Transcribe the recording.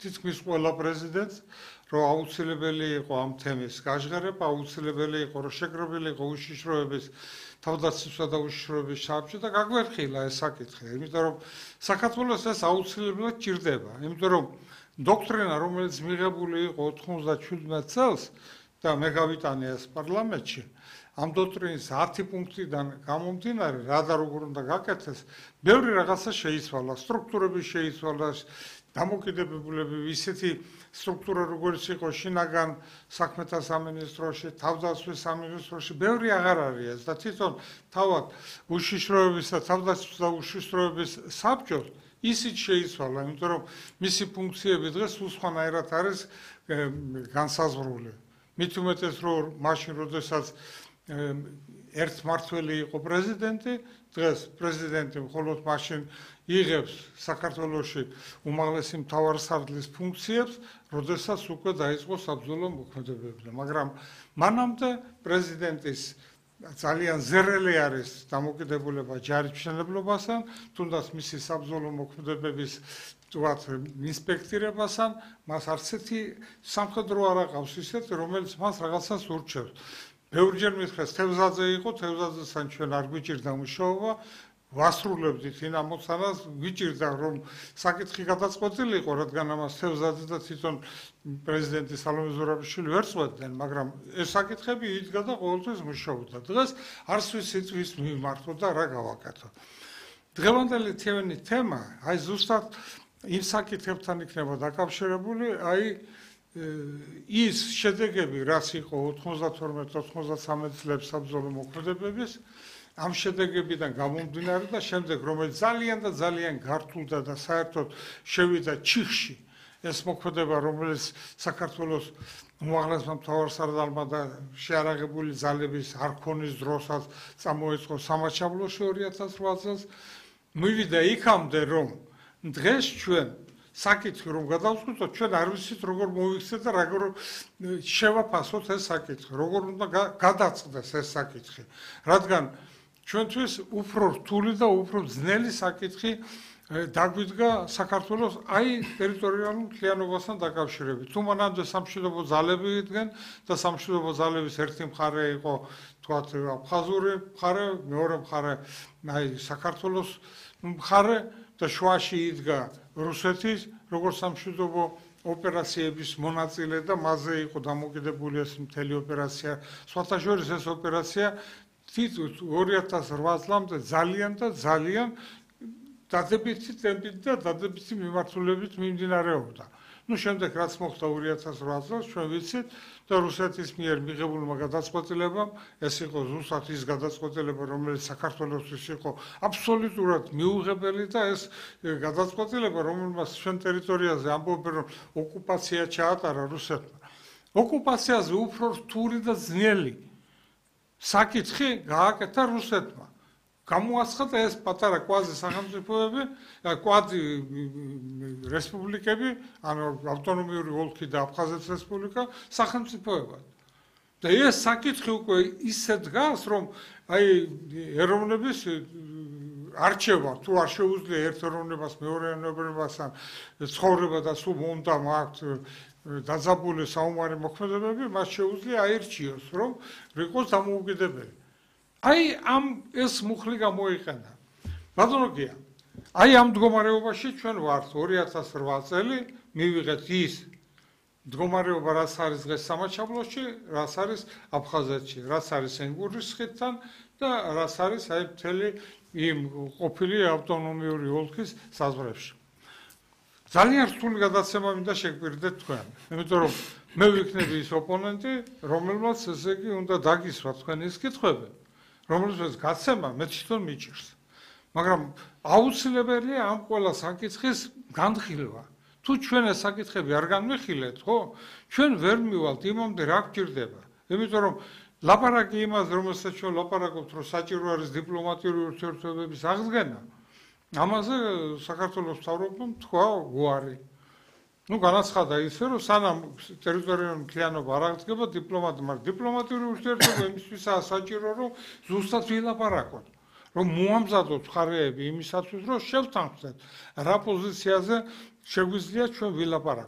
თითქმის ყველა პრეზიდენტს რომ აუცილებელი იყო ამ თემის გაჟღერება, აუცილებელი იყო რომ შეკრებილი იყო უშიშროების თავდაცვისა და უშიშროების საბჭო და გაგვერხილა ეს საკითხი, იმიტომ რომ საქართველოს ეს აუცილებლად ჭირდება, იმიტომ რომ დოქტრინა, რომელიც მიღებული იყო 97 წელს და მე გავიტანე ეს პარლამენტში, ამ დოქტრინის 10 პუნქტიდან გამომდინარე, რა და როგორ უნდა გაკეთდეს, ბევრი რაღაცა შეიცვალა, სტრუქტურები შეიცვალა, დამოკიდებულები ისეთი სტრუქტურა როგორც იყო შინაგან საქმეთა სამინისტროში, თავდაცვის სამინისტროში, ბევრი აღარ არის ეს და თვითონ თავად უშიშროების და თავდაცვის და უშიშროების საბჭოს ისიც შეიცვალა, იმიტომ რომ მისი ფუნქციები დღეს სულ სხვანაირად არის განსაზღვრული. მით უმეტეს რომ მაშინ როდესაც ერთმართველი იყო პრეზიდენტი, დღეს პრეზიდენტი მხოლოდ მაშინ იღებს საქართველოში უმაღლესი მთავარსარდლის ფუნქციებს, როდესაც უკვე დაიწყო საბრძოლო მოქმედებები. მაგრამ მანამდე პრეზიდენტის ძალიან ზერელი არის დამოკიდებულება ჯარისმშენებლობასთან, თუნდაც მისი საბრძოლო მოქმედებების თქვათ ინსპექტირებასთან, მას არც ერთი სამხედრო არ აყავს ისეთი, რომელიც მას რაღაცას ურჩევს. ბევრჯერ მითხრეს, თევზაძე იყო, თევზაძესთან ჩვენ არ გვიჭირდა მუშაობა, ვასრულებდით იმ ამოცანას, გვიჭირდა რომ საკითხი გადაწყვეტილი იყო, რადგან ამას თევზაძე და თვითონ პრეზიდენტი სალომე ზურაბიშვილი ვერ წვეთდნენ, მაგრამ ეს საკითხები იდგა და ყოველთვის მუშაობდა. დღეს არც ვიცით ვის მიმართო და რა გავაკეთო. დღევანდელი თემა, აი ზუსტად იმ საკითხებთან იქნება დაკავშირებული, აი ის შედეგები, რაც იყო 92-93 წლების საბრძოლო მოქმედებების, ამ შედეგებიდან გამომდინარე და შემდეგ რომელიც ძალიან და ძალიან გართულდა და საერთოდ შევიდა ჩიხში ეს მოქმედება, რომელიც საქართველოს უმაღლესმა მთავარსარდალმა და შეარაღებული ძალების არქონის დროსაც წამოიწყო სამაჩაბლოში 2008 წელს, მივიდა იქამდე რომ დღეს ჩვენ საკითხი რომ გადავწყვიტოთ, ჩვენ არ ვიცით როგორ მოვიქცეთ და როგორ შევაფასოთ ეს საკითხი, როგორ უნდა გადაწყდეს ეს საკითხი, რადგან ჩვენთვის უფრო რთული და უფრო ძნელი საკითხი დაგვიდგა საქართველოს აი ტერიტორიალურ მთლიანობასთან დაკავშირებით. თუ მანამდე სამშვიდობო ძალები იდგნენ და სამშვიდობო ძალების ერთი მხარე იყო თქვათ აფხაზური მხარე, მეორე მხარე აი საქართველოს მხარე და შუაში იდგა რუსეთის როგორც სამშვიდობო ოპერაციების მონაწილე და მასზე იყო დამოკიდებული ეს მთელი ოპერაცია. სხვათა შორის ეს ოპერაცია 2008 წლამდე ძალიან და ძალიან დადებითი ტემპით და დადებითი მიმართულებით მიმდინარეობდა. შემდეგ რაც მოხდა 2008 წელს, ჩვენ ვიცით და რუსეთის მიერ მიღებულმა გადაწყვეტილებამ, ეს იყო ზუსტად ის გადაწყვეტილება, რომელიც საქართველოსთვის იყო აბსოლუტურად მიუღებელი და ეს გადაწყვეტილება, რომელმაც ჩვენ ტერიტორიაზე ამბობენ, რომ ოკუპაცია ჩაატარა რუსეთმა. ოკუპაციაზე უფრო რთული და ძნელი საკითხი გააკეთა რუსეთმა. გამოაცხადა ეს პატარა კვაზი სახელმწიფოები, კვაზი რესპუბლიკები, ანუ ავტონომიური ოლქი და აფხაზეთის რესპუბლიკა სახელმწიფოებად. და ეს საკითხი უკვე ისე დგას, რომ აი ეროვნების არჩევა თუ არ შეუძლია ერთ ეროვნებას მეორე ეროვნებასთან ცხოვრება და სულ უნდა მაქვს დაძაბული საომარი მოქმედებები, მას შეუძლია აირჩიოს, რომ იყოს დამოუკიდებელი. აი ამ ეს მუხლი გამოიყენა. ბატონო გია, აი ამ მდგომარეობაში ჩვენ ვართ 2008 წელი, მივიღეთ ის მდგომარეობა, რაც არის დღეს სამაჩაბლოში, რაც არის აფხაზეთში, რაც არის ენგურის ხიდთან და რაც არის აი მთელი იმ ყოფილი ავტონომიური ოლქის საზღვრებში. ძალიან რთული გადაცემა მინდა შეგვირდეთ თქვენ, იმიტომ რომ მე ვიქნები ის ოპონენტი, რომელმაც ესე იგი უნდა დაგისვა თქვენი ის კითხვები, რომელსაც გაცემა მე თვითონ მიჭირს. მაგრამ აუცილებელია ამ ყველა საკითხის განხილვა. თუ ჩვენ ეს საკითხები არ განვიხილეთ, ხო, ჩვენ ვერ მივალთ იმამდე რა გჭირდება. იმიტომ რომ ლაპარაკი იმას, რომელსაც ჩვენ ლაპარაკობთ, რომ საჭირო არის დიპლომატიური ურთიერთობების აღდგენა, ამაზე საქართველოს მთავრობამ თქვა უარი. განაცხადა ისე, რომ სანამ ტერიტორიული მთლიანობა არ აღდგება მაგრამ დიპლომატიური ურთიერთობა იმისთვისაა საჭირო, რომ ზუსტად ვილაპარაკოთ, რომ მოამზადოთ მხარეები იმისათვის, რომ შევთანხმდეთ რა პოზიციაზე შეგვიძლია ჩვენ ვილაპარაკოთ.